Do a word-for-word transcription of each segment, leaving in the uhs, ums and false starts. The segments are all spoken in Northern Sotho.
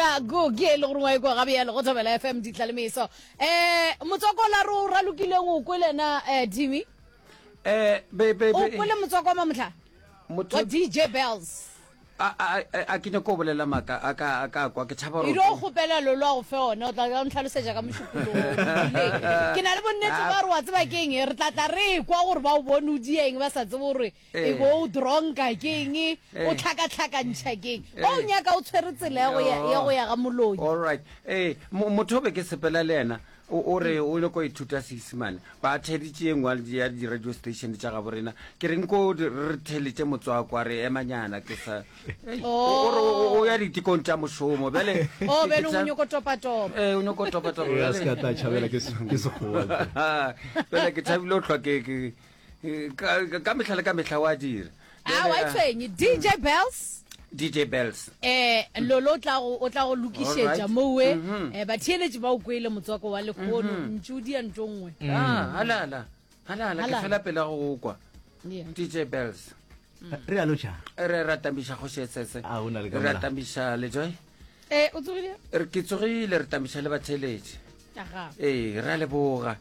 Chicago ke e le gore wa ekwa gabjalo go Thobela F M ditlalemeso. Eh motswako la re o ralokileng o kwele na eh Timmy? Eh be be O kwele motswako wa mamohla? Motho Wa D J Bells. A a a ke nyako bolela maka a ka a ka kwa ke tšhaba gore E ro kgopela lolo a go fe ona o tla tla ntlhalosetša ka mošupologo. Ke na le bonnete ba re wa tseba ke eng re tla tla re kwa gore ba o bone o dieng ba sa tsebe gore e bo o dronka ke eng o tlhakatlhakantšha ke eng. O nyaka o tshwere tsela ya go ya ya go ya ga moloi. All right. Eh motho be ke sepela le yena o re o le ko ithuta Seisemane ba theditše e nngwe ya di-radio station tša gabo rena ke reng ko re theletše motswako a re emanyana ke sa o ya ditekong tša mošomo bjale o bjale o nyoko topatopa eh o nyoko topatopa bjale se ka tla tšhabela ke ke sekgowa bjale ke thabile o hlwa ke ke ka mehla le ka mehla wa dira a wa tshwenye D J Bells D J Bells eh lolo tla go o tla go lokišetša mowe eh batheeletši ba o kwele motswako wa lehono ntšudi ya ntongwe ah halala halala ke fela pele go kwa D J Bells re a lotša re ratamiša go shetsetse re ratamiša le Joy eh o tsogile re ke tsogile re tamiša le batheeletši ee re a leboga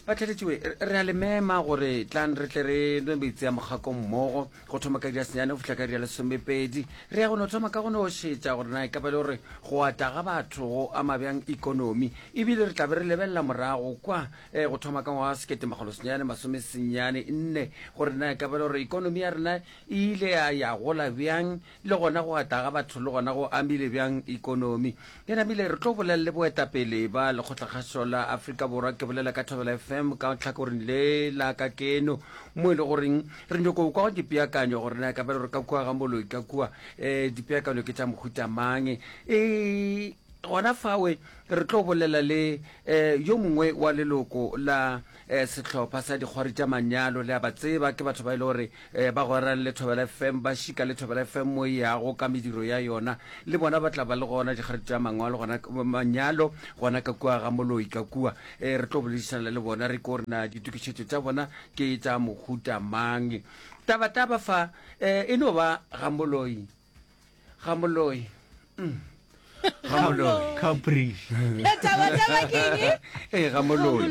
batheeletši re a le mema gore tlang re tle re nwe metsi a mokgako mmogo go thoma ka dia senyane go fihla ka dia lesomepedi re ya go no thoma ka go no šetša gore na e ka ba le gore go ata ga batho go ama bjang ikonomi ebile re tla be re lebelela morago kwa eh, go thoma ka ngwaga sekete makgolo senyane masome senyane nne gore na e ka ba le gore ikonomi ya rena e ile ya ya gola bjang le gona go ata ga batho le gona go amile bjang ikonomi. Ke namile re tlo bolela le boetapele ba lekgotlakgašo la Afrika Borwa ke bolela ka Thobela F M ka tlhakoreng le la ka keno mo e le goreng re nyoko kwa dipeakanyo gore na ka ba re ka kua ga moloi ka kua eh dipeakanyo ke tša mohuta mang e gona fawe re tlo bolela le eh yo mongwe wa leloko la eh sehlopha sa dikgwari tša manyalo le a ba tseba ke batho ba ile gore eh ba gwerang le Thobela F M ba šika le Thobela F M mo yago ka mediro ya yona le bona ba tla ba le gona dikgwari tša mangwalo gona manyalo gona ka kua ga moloi ka kua eh re tlo boledišana le bona re ko rena ditokišetšo tša bona ke tša mohuta mang taba taba fa eh e no ba ga moloi ga moloi mm. Gamoloi Capri. Taba taba ke eng? Eh Gamoloi.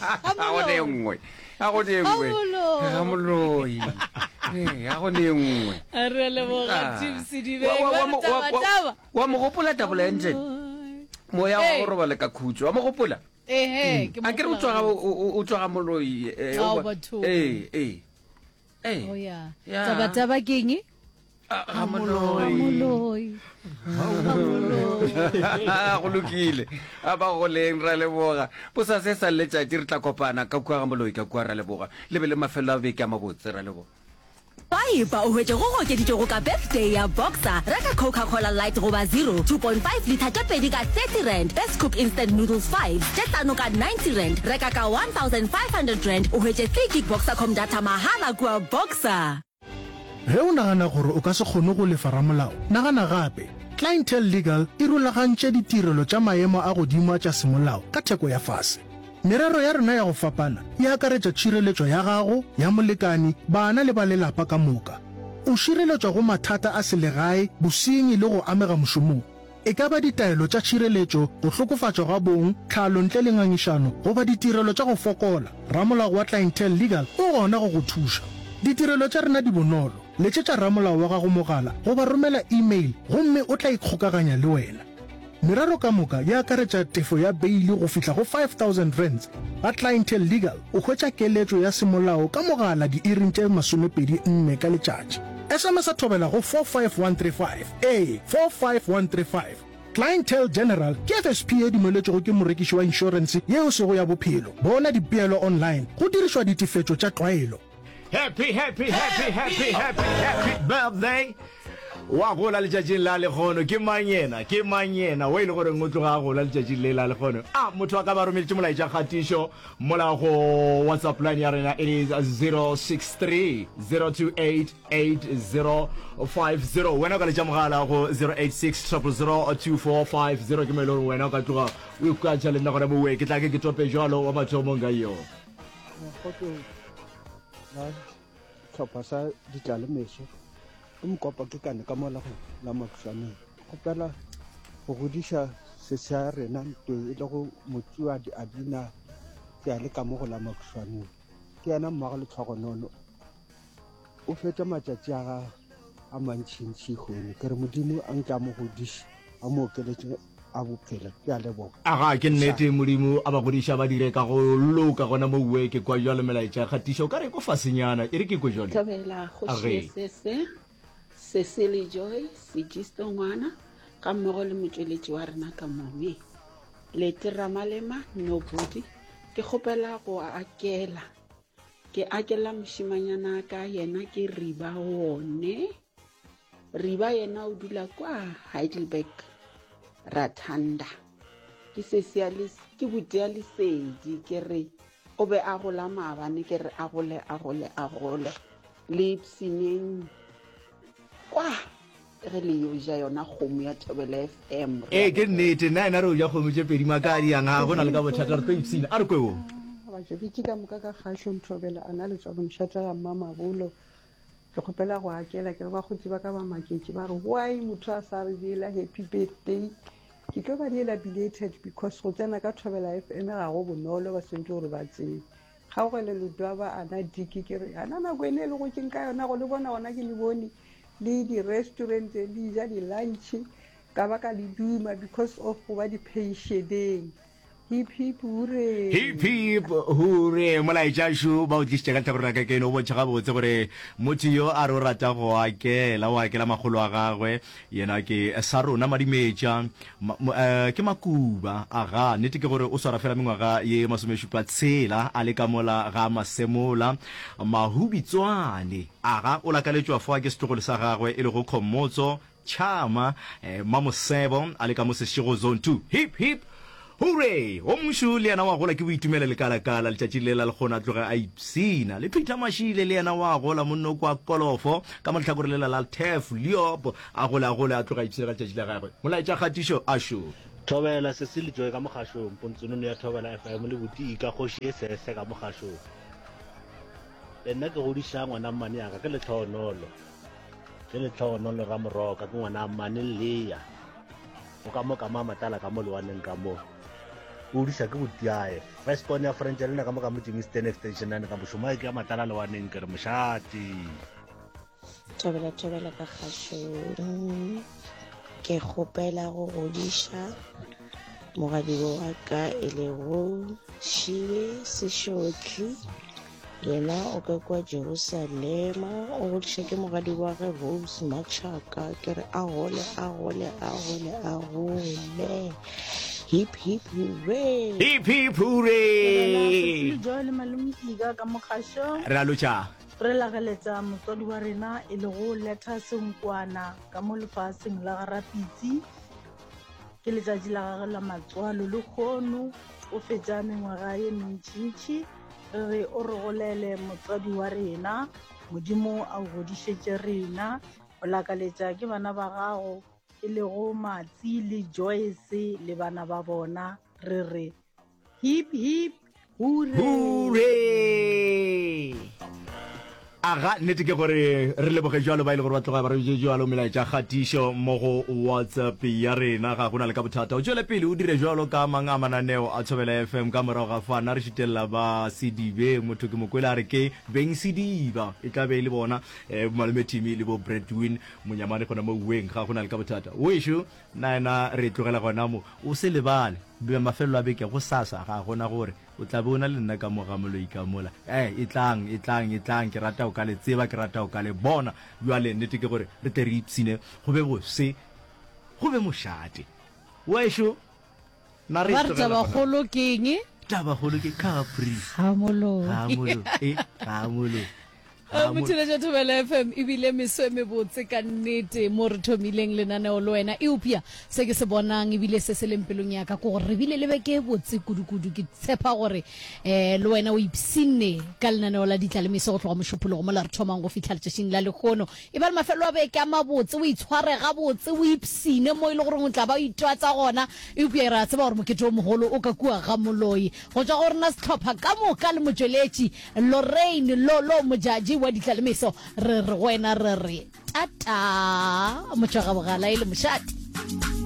A go ne nngwe. A go ne nngwe. Gamoloi. Eh a go ne nngwe. Re leboga Tim Sedibeng. Taba taba. Wa mo gopola Double Engine. Moya wa go robala ka khutso. Wa mo gopola? Eh eh ke mo. A ke re o tswa o tswa Gamoloi. Eh eh. Eh. Oh yeah. Taba taba ke eng? Gamoloi. Go lokile a ba goleng ra leboga bosasa e sa letšatši re tla kopana ka kua Gamoloi ka kua ra leboga le be le mafelo a beke a mabotse ra leboga. Swipe o hwetše go okeditšwego ka birthday ya Boxer. Reka Coca-Cola Light goba Zero two point five litre tše pedi ka thirty rand, Best Cook Instant Noodles five tše hlano ka ninety rand. Reka ka one thousand five hundred rand o hwetše three gig Boxercom data mahala kua Boxer. Ge o nagana gore o ka se kgone go lefa ramolao, nagana gape. Clientele Legal e rulagantše ditirelo tša maemo a godimo tša semolao ka theko ya fase. Merero ya rena ya go fapana e akaretša tšhireletšo ya gago, ya molekani, bana le ba lelapa ka moka. O šireletšwa go mathata a selegae, bosenyi le go amega mošomong. E ka ba ditaelo tša tšhireletšo, go hlokofatšwa ga bong, tlhalo ntle le ngangišano, goba ditirelo tša go fokola, ramolao wa Clientele Legal o gona go go thuša. Ditirelo tša rena di bonolo. Letšetša ramolao wa gago mogala goba romela email gomme o tla ikgokaganya le wena. Merero ka moka e akaretša tefo ya beili go fihla go five thousand rands. Ga Clientele Legal o hwetša keletšo ya semolao ka mogala diiring tše masomepedi nne ka letšatši. S M S a thobela go four five one three five. Ee, four five one three five. Clientele General ke F S P e dumeletšwego ke morekiši wa inšorense yeo sego ya bophelo. Bona dipeelo online go dirišwa ditefetšo tša tlwaelo. Happy happy happy happy happy happy birthday wa gola letšatšing la lekgono ke mang yena ke mang yena o e le goreng o tloga a gola letšatšing le la lekgono a motho a ka ba romeletše molaetša kgatišo mola go WhatsApp line ya rena it is zero six three zero two eight eight zero five zero wena o ka letša mogala go zero eight six triple zero two four five zero ke mo e le gore wena o ka tloga o ikukantšha le nna gona mowe ke tla ke ke tope jalo wa mathomong ka yo la tlhopha sa ditlalemeso ke mokopa ke kane ka mola go la Matlwaneng kgopela go godiša sesi ya rena ntwe e le go Motsuadi Adina ke a le ka mo go la Makušwaneng. Ke yena mmago Letlhogonono. O fetša matšatši a gagwe a mantšintši kgone. Ke re Modimo a nke a mo godiše, a mo okeletše a bophelo. Ke a leboga. Aga, ke nnete, Modimo a ba godiše, a ba dire ka go loka gona mo uwe. Ke kwa bjalo melaetša ya kgatišo, o ka re ko fasenyana. E re ke kwe jwale. Thobela kgoši Age. Sese, Cecily Joy, Segisto Ngwana, ga mmogo le motšweletši wa rena ka mome. Leti Ramalema, Nobody, ke kgopela go akela. Ke akela mošimanyana ka yena ke Riba one. Riba yena o dula kwa Heidelberg, Ratanda. Ke sesi ya les-, ke buti ya Lesedi, ke re o be a gola maabane, ke re a gole, a gole, a gole. Le ipshineng kwa ge le yo ja yona kgomo ya Thobela F M. Ee, ke nnete, nna ena re o ja kgomo tše pedi makadi yang, ga go na le ka bothata, re tlo ipshina. A re kwe wo. Bajebitši ka moka ka kgašong Thobela, a na le tswa mošate ga Mmamabolo. Ke kgopela go akela, ke re bakgotsi ba ka ba maketše, ba re why motho a sa re diela happy birthday. Ke tlo ba diela belated because go tsena ka Thobela F M ga go bonolo, ba swantse gore ba tsebe. Kgaogelo Ledwaba a na diki, ke re ana nako ene e le gotseng ka yona go le bona gona ke le bone le di-restaurant le ja di-lunch, ka ba ka le duma because of go ba di-pensioneng. Hip hip hooray. Hip hip hooray. Molaetša šo ba o tlišitše ka lehlakoreng la ka keno, o bontšha gabotse gore motho yo a re o rata go akela, o akela makgolo a gagwe. Yena ke sa rona Madimetša, ma, mo, eh, ke Makuba. Aga, nnete ke gore o swara fela mengwaga ye masomešupa tshela a le ka mola ga Masemola Mahubitswane. Aga, o lakaletšwa foa ke setlogolo sa gagwe e lego Khomotso Chama, eh, Mamosebo a le ka mo Seshego Zone two. Hip hip hooray! O mongšu le yena wa gola ke boitumelo lekalakala letšatši le la lekgono a tloge a ipshina. Le Peter Mashile le yena wa gola monno kwa Kolofo ka mo lehlakore lela la Turf Leop a gole a gole a tloge a ipshina ka letšatši la gagwe. Molaetša kgatišo a šo. Thobela Cecily Joy ka mogašong, Pontsonono ya Thobela F M le Buti Ika kgoši e sese ka mogašong. Le nna ke godiša ngwana mmane yaka ke Letlhogonolo. Ke Letlhogonolo Ramoroka, ke ngwana mmane Lea. O ka mo ka ma matala ka mo lewaneng ka mo. O godiša ke butiae. First born ya French le nna ka mo ka mo Jimmy Extension nane ka mošomo ke ya matala lewaneng ke re mošate. Thobela, thobela ka kgašong. Ke kgopela go godiša mogadibo wa ka e lego Šibe Sešotli. Yena o ka kwa Jerusalema, o godiša ke mogadi wa ge Rose Machaka. Ke re a gole, a gole, a gole, a gole. Hip hip hooray. Hip hip hooray. Thobela, Joy le Malome Ika ka mogašong. Re a lotša. Re lageletša motswadi wa rena e lego Letta Senkwana ka mo lefaseng la Garapitsi. Ke letšatši la gagwe la matswalo lehono, o fetša mengwaga ye mentšintši. Re re o re golele motswadi wa rena, Modimo a o godišetše rena. O lakaletša ke bana ba gago e lego Matsi le Joyce le bana ba bona. Re re hip hip hooray. Hooray. Aga, nnete ke gore re leboge jwalo ba ile gore ba tloga ba re jwalo melaetša kgatišo mo go WhatsApp ya rena. Ga gona le ka bothata, o tšwele pele o dire jwalo ka mang a mananeo a Thobela F M. Ka morago ga fa nna re šitelela ba Sedibe, motho ke mokwele a re ke beng Sediba, e tla be e le bona, eh, malome Timmy le bo Bradwin Monyamane gona mo uweng. Ga gona le ka bothata wešo, nna ena re tlogela gona mo. O se lebale mafelelo a beke go sasa, ga gona gore o tla be o na le nna ka mo ga moloi ka mola. Eh, e tlang, e tlang, e tlang, ke rata o ka le tseba, ke rata o ka le bona. Jwale nnete ke gore re tle re ipshine, go be bose, go be mošate. Wešo, na re Ba re tlogela gona. tabakgolo ke eng? Tabakgolo ke Capri. Ga moloi. Ga moloi, eh, ga moloi. Motšheletša Thobela F M ebile meso e mebotse ka nnete mo re thomileng lenaneo le wena. Eupša se ke se bonang ebile se se leng pelong ya ka ke gore re bile le beke e botse kudu-kudu. Ke tshepa gore, eh, le wena o ipshinne ka lenaneo la Ditla le Meso go tloga mošupologo mola re thomang go fihla letšatšing la lehono. E ba le mafelo a beke a mabotse, o itshware gabotse, o ipshine mo e le goreng o tla ba o itwatsa gona. Eupša re a tseba gore mokete o mogolo o ka kua ga moloi. Go tšwa go rena sehlopha ka moka le motšweletši Lorraine Lolo Modjadji wa Ditla le Meso, re re go wena re re tata motšwa ga bogala e le mošate.